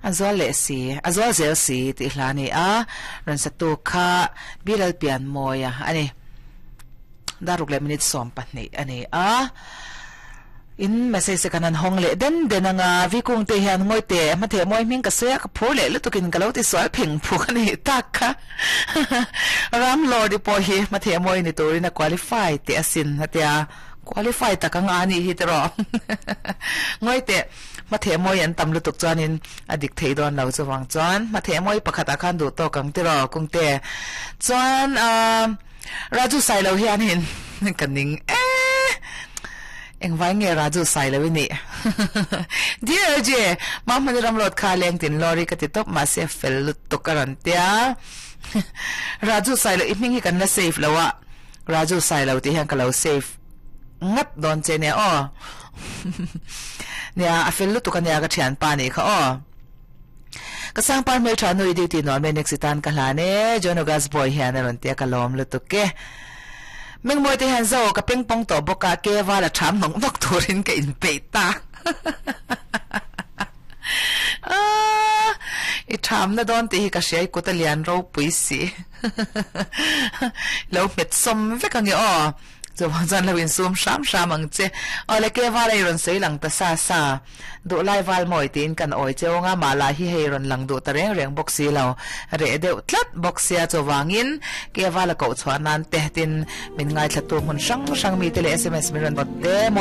A zual leh si, a zual zel si tih hla a ni a, rawn satu kha Bilal Pianmawia a ni. Daruk leh minute 12 a ni a. In message te kan han hawng leh den den anga Vikung te hian ngawi teh hmatheh mawi hming ka sawi a, ka phur leh lutukin ka lo ti sual pheng phuk a nih tak kha. Ram Lord-i pawh hi hmatheh mawi ni turin a qualify teh asin a tia. Qualify tak anga a nih hi tiraw. Ngawi teh hmatheh mawi an tam lutuk chuanin a dik thei dawn lo chuvang chuan hmatheh mawi pakhatah khan duh tawk ang tiraw Kungte. Chuan ahh Raju Sailo hianin ka ning e Engvai nge Raju Sailo i nih? Dear LJ, Mahmani Ramlawt kha leng tin lawri ka ti tawp mahse fel lutuk a rawn tia. Raju Sailo i hming hi kan la save lo a, Raju Sailo tih hian ka lo save ngat dawn che nia aw. Nia a fel lutuk ania ka thianpa nih kha aw. Ka sangpar hmeltha nu i duty nuam e next i tan ka hlan e John August boy hian a rawn tia ka lawm lutuk e. Mengmawi te hian zo ka peng pawng tawh bawk a ke val a tham nawk nawk turin ka inpeih ta. Aaa i thamna dawn tih hi ka hria i kut a lian ropui si. Lo hmet sawm vek ange aw. Chuvang chuan lo insum hram hram ang che. Aw le ke val a i rawn sawi lang ta sa sa. Duhlai val mawi tiin kan awi cheu anga mah lah hi hei rawn lang duh ta reng reng bawk si lo. Reh deuh tlat bawk sia chuvangin ke val a koh chhuah nan te tin min ngaithlatu hmun hrang hrang mite leh sms min rawn bawt te mawi.